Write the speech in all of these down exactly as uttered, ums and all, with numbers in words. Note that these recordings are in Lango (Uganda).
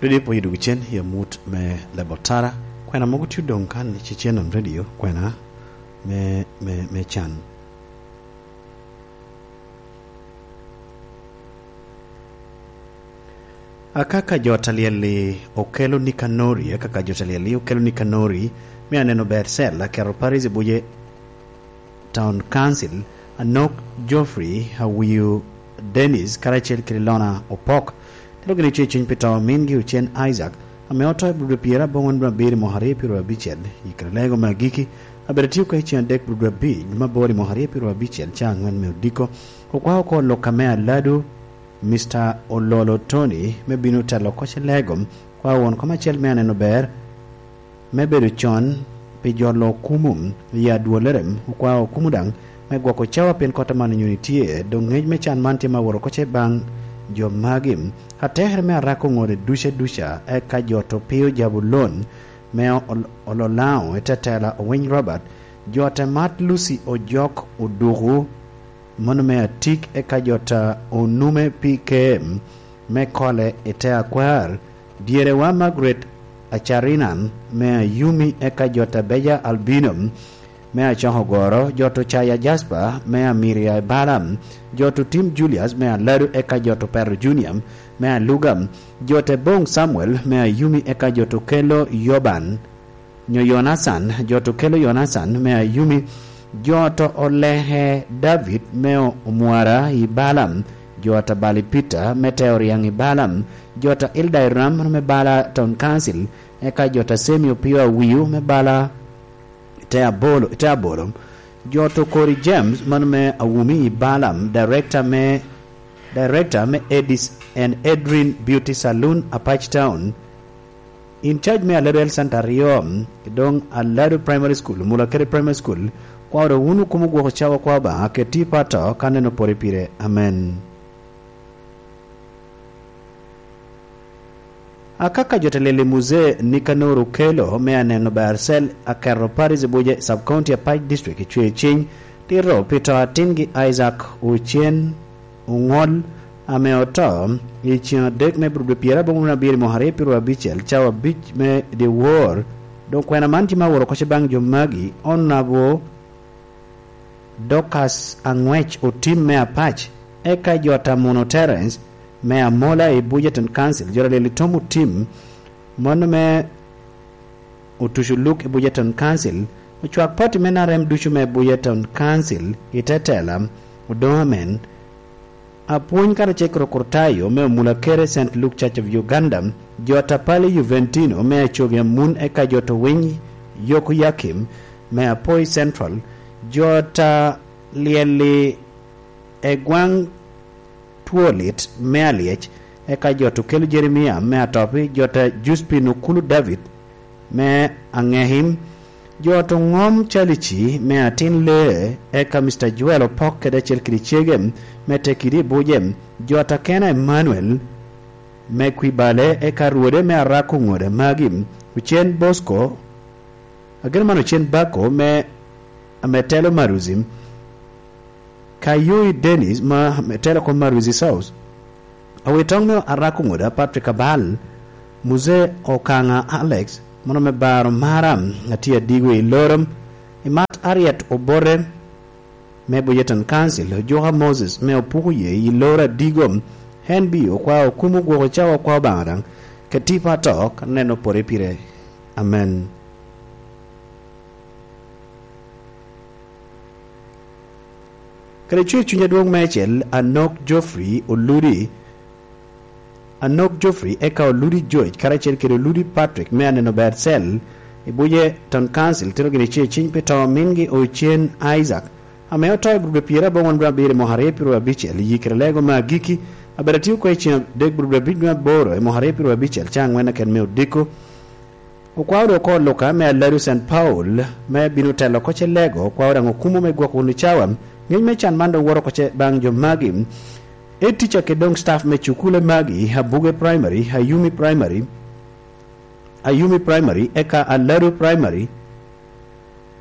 Redio pwonyo dwogo cen i amut me Labotara. Kwena mogo tye odoŋ kan i Cecen on redio, kwena me, me, me can. Akaka jo talyel-li okelo Nikanori, akaka jo talyel-li okelo Nikanori, me aneno ber cel, aketo Paris i buce Town Council, Anok Geoffrey, Awiu Dennis, karacel kede Lona Opok. Tero gin icwe cuny pi to mingi ocen Isaac, ame oto i Budo pyero aboŋwen dwe abiro i mwaka aryo pyero abicel, i Kralego me agiki, abedo tye oko i cen adek Budo abic dwe me aboro i mwaka aryo pyero abicel, ca angwen me odiko. Okwao oko lok ame aladu, Mister Ololo Tony, me bino telo oko Celego, kwao won kom acel me aneno ber, me bedo con pi jolo okumu i adwolere, okwao okumu daŋ me gwoko cawa pien kot aman onyo tye, dok ngec me can man tye ma woro oko ce baŋ jo magi. Atekere me arako ŋode duca duca, eka jo to pio Jabulon me ol-, Ololaŋo i tetela Owiny Robert, jo te mat Lucy Ojok Oduku, mano me atik, eka jo ta onume pi kem me kole i te akwar, dyerewa Margaret Acarinan me Ayumi, eka jo ta Beja Albino me Acokogoro, jo to Caya Jasper me Amiria i Balam, jo to Tim Julius me Aladu, eka jo to Pero Junior me Aluga, jo te Boŋ Samuel me Ayumi, eka jo to Kelo Yoban nyo Yonacan, jo to Kelo Yonacan me Ayumi, jo to Oleke David me Omwara i Balam, jo ta Bali Peter me Teoriaŋ i Balam, jo ta Ilda Iram me Bala Town Council, eka jo ta Semi Opio Awiu me Bala te Abolo, te Abolo, jo to Kori James mano me Awumi i Balam, director me, director me Edis and Edrin Beauty Saloon, Apac Town, in charge me Aladu Health Center aryo, doŋ Aladu Primary School, Mulakere Primary School, kwao dok wun okumo gwoko cawa kwa Obaŋa, keti pato ka neno pore pire. Amen. Akaka jo te lili Muzee Nikanor Okelo me aneno Barcel aketo Paris i buce Sub-County Apac District i Cwer Ciny, tito pi to atingi Isaac Ocen Oŋol, ame oto i ceŋ adek me Abril dwe pyeraboro wunu abiro i mwaka aryo pyeraryo abicel, cawa abic me dyewor. Doŋ kwena man tye ma aworo oko ce baŋ jo magi, onabo Dorcas Aŋwec Otim me Apac, eka jo ta Muno Terence me Amola i Bujeton Council, jo ta Lili Tom Otim, mano me Otuco Luk i Bujeton Council, ocwak pati me N R M ducu me Bujeton Council i te tela, Odoŋ Amen, apwony karacel kede okrutayo me Omulakere Saint Luke Church of Uganda, jo ta Pali Juventino me Acogi Amun, eka jo to Winy Yokoyakim me Apoi Central, jo ta Lyelli Egwaŋ Twolit me Alyec, eka jo to Kelo Jeremia me Atopi, jo ta Juspin Okulu David me Aŋekim, jo to Ŋom Calici me Atin Lee, eka Mister Joel Opok kede acel kede cege me Tekidi i Buje, jo ta Kena Emmanuel me Kwibale, eka Rwode me Arako Ŋode magi, Ocen Bosco, ageno man Ocen Bako me, ame telo Maruzi, Kayoi Dennis ma, ame telo kom Maruzi South, Awitoŋ me Arako Ŋoda Patrick Abal, Muzee Okaŋa Alex, mano me Baro Mara, atye adigo i loro, i mat Ariet Obote me Bujeton Council, Ojuka Moses me Opuku Ye i loro adigo, en bi okwa okumo gwoko cawa kwa Obaŋa daŋ, keti pa to ka neno pore pire. Amen. Kede cwer cuny adwoŋ meicel, Anok Geoffrey Oludi, Anok Geoffrey eka Oludi George, karacel kede Oludi Patrick me aneno ber cel i Bujeton Council, tito gini ce ciny pi to mingi Ocen Isaac, ame oto i Budo pyeraboro wan dwe abiro i mwaka aryo pyeraryo abicel, i yikere lego me agiki, abedo atio kwe i ceng adek Budo abic dwe aboro i mwaka aryo pyeraryo abicel, ca angwen aken me odiko. Okwao dok oko Luka me Aladu Saint Paul, me bino telo oko ce lego, okwao daŋ okumo me gwok wunu cawa. Ngec me can man dok woto oko ce baŋ jo magi. Head teacher kede doŋ staff me cukule magi, Abuge Primary, Ayumi Primary, Ayumi Primary, eka Aladu Primary,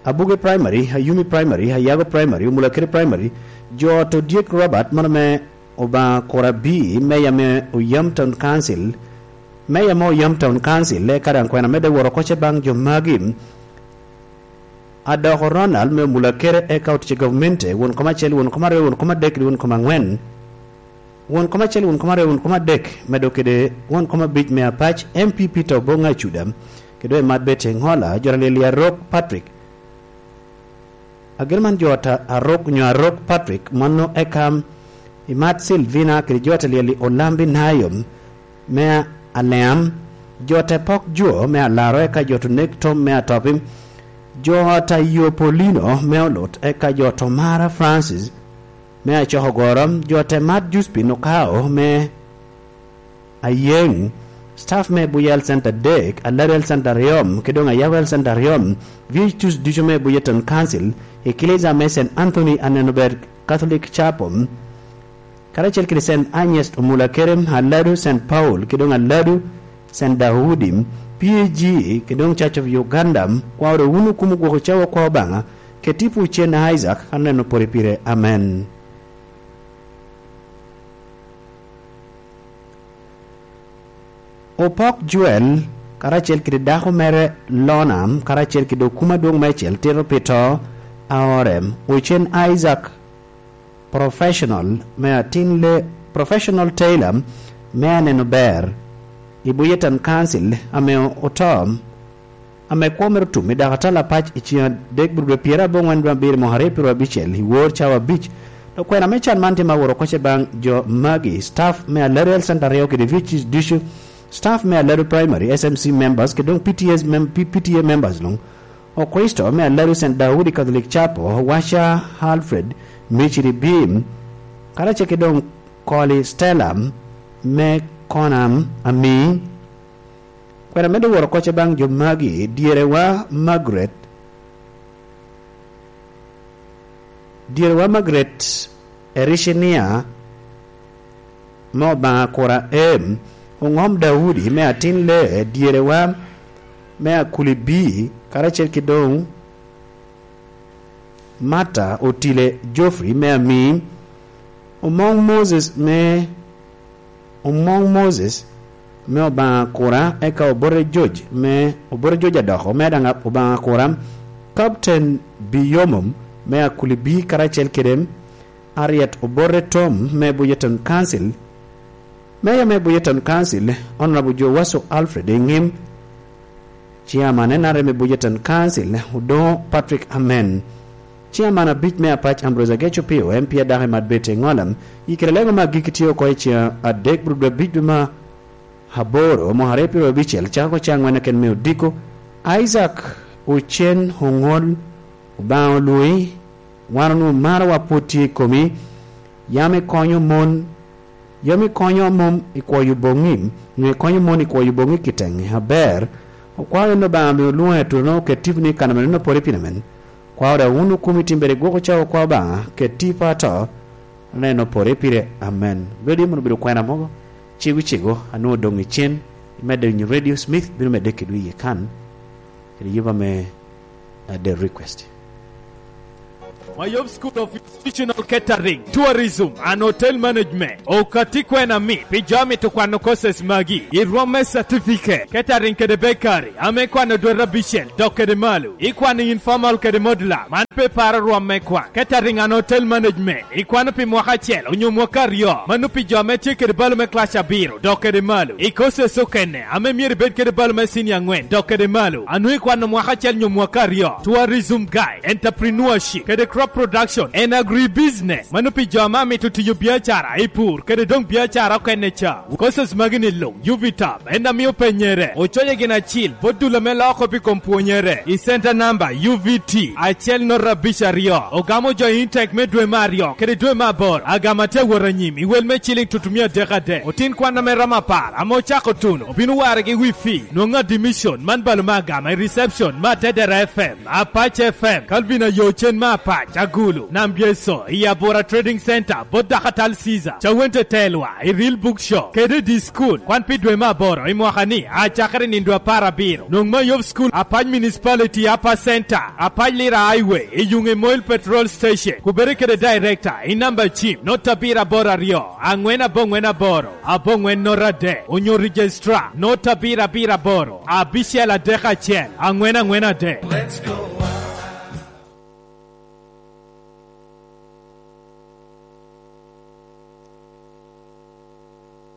Abuge Primary, Ayumi Primary, Ayago Primary, Omulakere Primary, jo to Diek Robert, mano me Obaŋa Kurabi, meya me Oyam Town Council, Meya me Oyam Town Council, eka daŋ kwena medde woro kocce baŋ jo magi. Adoko Ronald me Omulakere, eka otic i gavmente, won kom acel, won kom aryo, won kom adek, kede won kom aŋwen. Won kom acel, won kom aryo, won kom adek, medo kede won kom abic me Apac, M P P to Boŋ Acuda, kede Emat Bete Ŋola, jota lyel i Arok Patrick. Agir man jota Arok, nyo Arok Patrick, mano eka Emat Silvina, kede jota lyel i Olambi Nayo, me Aleam, jota Pok Jo, me Alaro, eka jota Onek Tom, me Atopi, jota Yopolino, me Olut, eka jota Omara Francis, me Acokogoro, jota Emat Juspin Okao, me Ayeŋ, staff me Buya Health Center adek, Alado Health Center aryo, kede doŋ Ayago Health Center aryo, V H Us ducu me Buya Town Council, Eklezia me Saint Anthony Aneno Ber Catholic Chapel, karacel kede Saint Agnes Omulakere, Alado Saint Paul, kede doŋ Alado Saint Daudi, P A G, kede doŋ Church of Uganda, kwao doŋ wun okumo gwoko cawa kwa Obaŋa, kede tipo Ocen Isaac, aneno pore pire. Amen. Opok Joel, karacel kede dako mere Lona, karacel kede okuma adwoŋ meicel tito pi to a ore. Ocen Isaac, professional me atin le, professional tailor me Aneno Ber i Buya Town Council ame oto, ame kwo mere otum i dako atal apac i ceng adek bur dwe pyeraboro aŋwen dwe abiro mwaka aryo pyeraryo abicel i wor cawa abic. Dok kwena me can man tye ma woro kocce baŋ jo magi, staff me Alado Health Center aryo kede V H Us ducu, staff me Alado Primary, S M C members, kede doŋ P T As mem-, P-, P T A members luŋ. Okricito me Alado Saint Daudi Catholic Chapel, Washa Alfred, Miciri Bim, karacel kede doŋ Koli Stella me Konam Ami. Kwena medde woro kocce baŋ jo magi, dyerewa Margaret, dyerewa Margaret Ericinia me Obaŋa Kura Em, Oŋom Daudi me Atin Le, dyerewa me Akuli Bi, karacel kede doŋ Marta Otile Geoffrey me Ami, Omoŋ Moses me, Omoŋ Moses me Obaŋa Kura, eka Obote George me, Obote George Adoko me daŋ Obaŋa Kura, Captain Biyomom me Akuli Bi karacel kede Ariet Obote Tom me Buya Town Council, Meya me Buya Town Council, Honorable Jowaso Alfred Eŋim, Chairman N R M me Buya Town Council, Odoŋo Patrick Amen, Chairman abic me Apac Ambrose Ageco Pio, M P adako i Madbete Ŋola, i kare lego me agikki tye oko i ceng adek bur dwe abic dwe me aboro, mwaka aryo pyeraryo abicel, cako oko ceng aŋwen keken me odiko. Isaac Ocen Oŋol, Obaŋa olwoŋi, wan onwoŋo marowa pwod tye i komi, yam ikonyo mon, yam ikonyo mon i kwoyo boŋi, nyo ikonyo mon i kwoyo boŋi kiteŋ aber. Okwao en Obaŋa ame olwoŋo i atuno, oket tiponi i kan ame neno pore piny amen. Kwao daŋ wun okumi timbere gwok ocawa kwa Obaŋa, ket tipo ato, neno pore pire. Amen. Bedi mono obedo kwena mogo, cego cego, anwoŋo doŋ i cen, imedde winyo Radio Smith, bino medde kedwu iye kan, kede yuba me, uh, the request. Mayom School of Institutional Catering, Tourism and Hotel Management okatti kwena mit pi jo a mito kwano courses magi, i rwom me certificate, catering kede bakery, ame kwano dwete abicel dok kede malo, ikwano informal kede modular, man pe paro rwom me kwan, catering and hotel management, ikwano pi mwaka acel onyo mwaka aryo, mano pi jo ame tye kede balo me class abiro dok kede malo, i courses okene ame myero ibed kede balo me senior aŋwen dok kede malo, a nwoŋo ikwano mwaka acel nyo mwaka aryo, tourism guide, entrepreneurship, kede crop production and agribusiness, mano pi jo ame amito tiyo biacara i pur kede doŋ biacara okene ca. Courses magi ni luŋ, U V top, en amio penyere, oconye gin acil, bot dul ame loko pi kom pwonyere, i center number U V T acel noto abic aryo, ogamo jo i intake me dwe me aryo kede dwe me aboro, agama tye awot anyim i wel me ciling tutumia adek adek. Otin kwan ame romo apar ame ocako tuno obino warre gi wi fee, nwoŋo admission man balo me agama i reception me Atedera F M, Apac F M, Calvin Ayo Cen me Apac, Cagulu, Nambyeso, i Abura Trading Center, bot Dakatal Caesar, Cawente Telwa, i Real Book Shop, kede i School. Kwan pi dwe me aboro i mwaka ni, a cakere nindo apar abiro. Nwoŋ Mayub School, Apac Municipality, Upper Center, Apac Lira Highway, i yuŋ i Moil Petrol Station, kubere kede Director, i namba cim, not abiro aboro aryo, aŋwen aboŋwen aboro, aboŋwen not adek, onyo Registrar, not abiro abiro aboro, abicel adek acel, aŋwen aŋwen adek.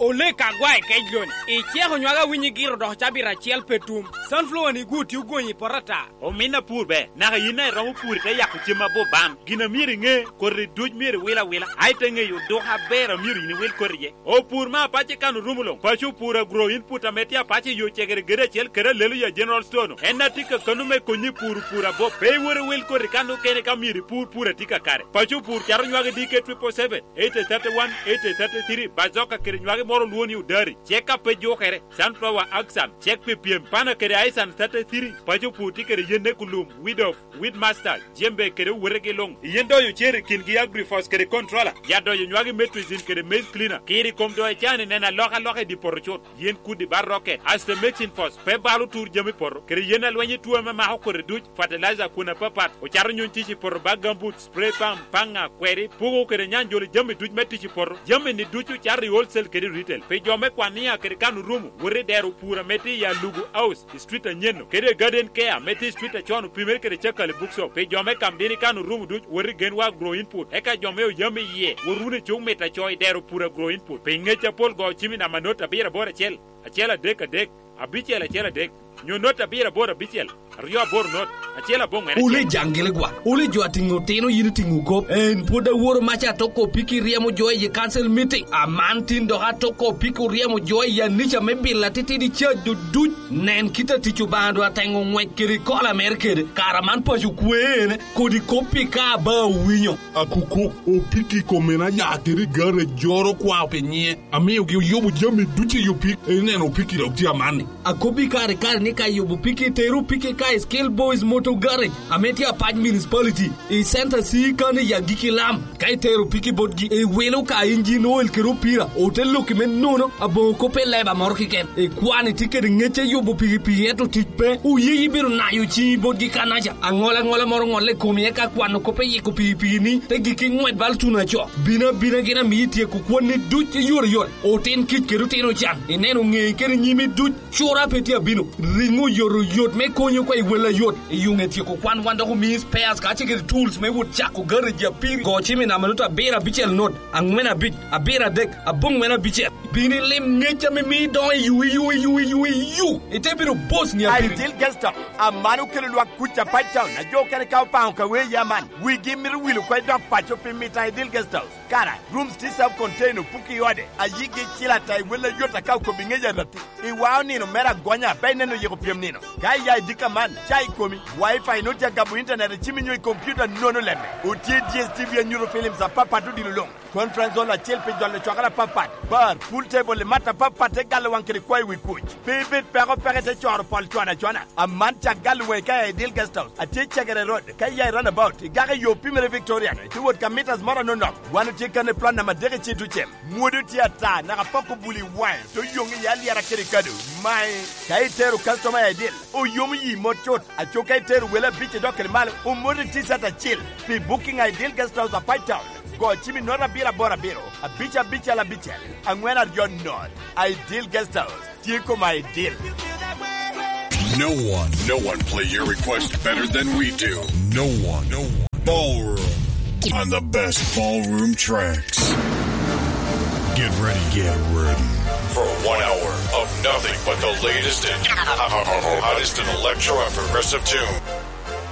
Olek agwa i kec loni, iceko nywag awinyi giro dok cabit acel pe tum. Sunflower ni gwo tye ogonyi i poto ata. Omin apur ber, naka yin a iromo pur ite yako cem aboban. Gin a myero iŋe, koti duc myero iwil awila, a ite ŋeyo oduka aber a myero yin iwil koti iye. Opur me apac i kan orumo luŋ. Paco opur agro input ame tye apac i yo cegere gede acel kede alelo ya General Store-nu. En a tye ka kano me konyi i pur opur abop. Pe iwor iwil koti kan okene ka myero ipur pur a tye kakare. Paco opur cato nywagi D K triple seven, eight thirty-one, eight thirty-three, bazoka kede nywagi moro olwo ni odari. Cek a pe jukere, sunflower, axan, cek pi pyem, pana kede aisan thirty-three. Paco opur tye kede yenne kulum, weed off, weed master, jembe kede owotegi luŋ. Yen doyo cer i kingi agrifos kede controller. Ya doyo nywagi metricin kede maize cleaner. Kiri kom doyo can i neno alokaloka i di poto cut. Yen kudi ba rocket, asto mixing force, pe balo tur jami poto. Kede yen alweny i tuo ame mako kodi duc, fertilizer kun apapat. Ocato nyuny tic i poto ba gamboots, spray pump, panga, kweri, pugo kede nyanjolo jami duc me tic i poto. Jami ni duc ocato i wholesale kede retail. Pi jo me kwania kede kan orumo, wot i dero pur ame tye i Alugu House, i street anyen-nu, kede Garden Care, me tye i street acon opimere kede Cakali Bookshop. Pi jo me kam dini kan orumo duc, wot i Genwa Agro Input. Eka jo me oyam i yie, wot wunu i cuk mit aco i dero pur Agro Input. Pi ngec apol go cim i namba not abiro aboro acel, acel adek adek, abicel acel adek, nyo not abiro aboro abicel, aryo aboro not, acel aboŋwen acel. Wule jaŋgili gwa, wule jo atiŋo tino yin itiŋo kop. En pwod aworo maca atoko piki ryemo jo i council meeting. Aman tin dok atoko piki oryemo jo i anica me bilo atitidi ca duduc. Nen kit a tic Obaŋa dwa teŋo ŋwec kede i kola mere kede. Kara man paco kwe ene, kodi kop pi ka aba owinyo. Akukok, opiki i kome na ya kede i gare joro kwao pi nyiŋe. Amiogi oyubo jami ducu i opik, ineno opiki dok tye amanni. Akobbi kare kare ni ka yubo piki, teru piki ka i Skill Boys Motor Garage, ame tye Apac Municipality, i Center C kan i agikki lam. Ka itero piki botgi, iwilo ka injin oil kede opira, ote loki me nono, aboŋo kop i leba moro keken. Ikwano itye kede ŋec a yubo piki pii, ento tic pe, oye ibiro nayo ciŋi botgi kanaca. Aŋola aŋola moro ŋolle i komi, eka kwano kop iyiko piki piki ni, te gikki ŋwed bal tuno aco. Bino abina gin amiyi tyeko kwonni duc i yore yore. Otin kic kede otin ocan, ineno ŋeyi kede nyimi duc, cura pe tye abino. Riŋo oyoto yot me konyo oko i wel ayot. I yuŋ etyeko kwan wan dok omii spares kacel kede tools me wot cako garaji apiri. Go cim i namba nut abiro abicel nut, aŋwen abic, abiro adek, aboŋwen abicel. Bino ilim ŋec ame mii idoŋo i yu, i yu, i yu, i yu, i yu. Ite bino boss ni apiri. Ideal Guest House, aman okelo lwak kuc Apac Town, a jo okene ka opaŋo ka wee ya man. Wigi mito wil oko i dok paco pi mita Ideal Guest House. Kara, rooms tye self contained, opuki i ode, ayigi icil ata i wel ayot aka okobi ŋec arati. Iwao nino mere agonya, pe ineno yiko pyem nino. Ka iya i dika man, ca i komi, wifi nut tye agabo internet i cimi nyo i computer nono lemme. Otye D S T V anyuto films apapat odilo luŋ. Conference hall acel pi jolo cwakere apapat. Bar, pool table i mat apapat te galo waŋ kede kwayo wi kuc. Pe ibed peko peke te coro pol cwana cwana. Aman cak galo waŋi ka iya i Ideal Guest House. Atye i Cegere Road. Ka iya i runabout, igako i yo pimere Victorian, itye wot ka meters moro anonok. Wan otye kan i plot namba adek i Citucem. Mwodo tye ata, naka pok obuli waŋe, to yoŋ iye alyera kede kado. Mae, ka itero customer i Ideal, oyomo yi mot cut. Aco ka itero wele abic idok kede malo, omoti T-shirt acil. Pi booking a Ideal Guest House Apac Town, go cim i not abiro aboro abiro, abic abicel abicel, aŋwen aryo not. Ideal Guest House. Tye koma i deal. No one, no one play your request better than we do. No one, no one. Ballroom on the best ballroom tracks. Get ready, get ready for one hour of nothing but the latest and hottest in electro and progressive tunes.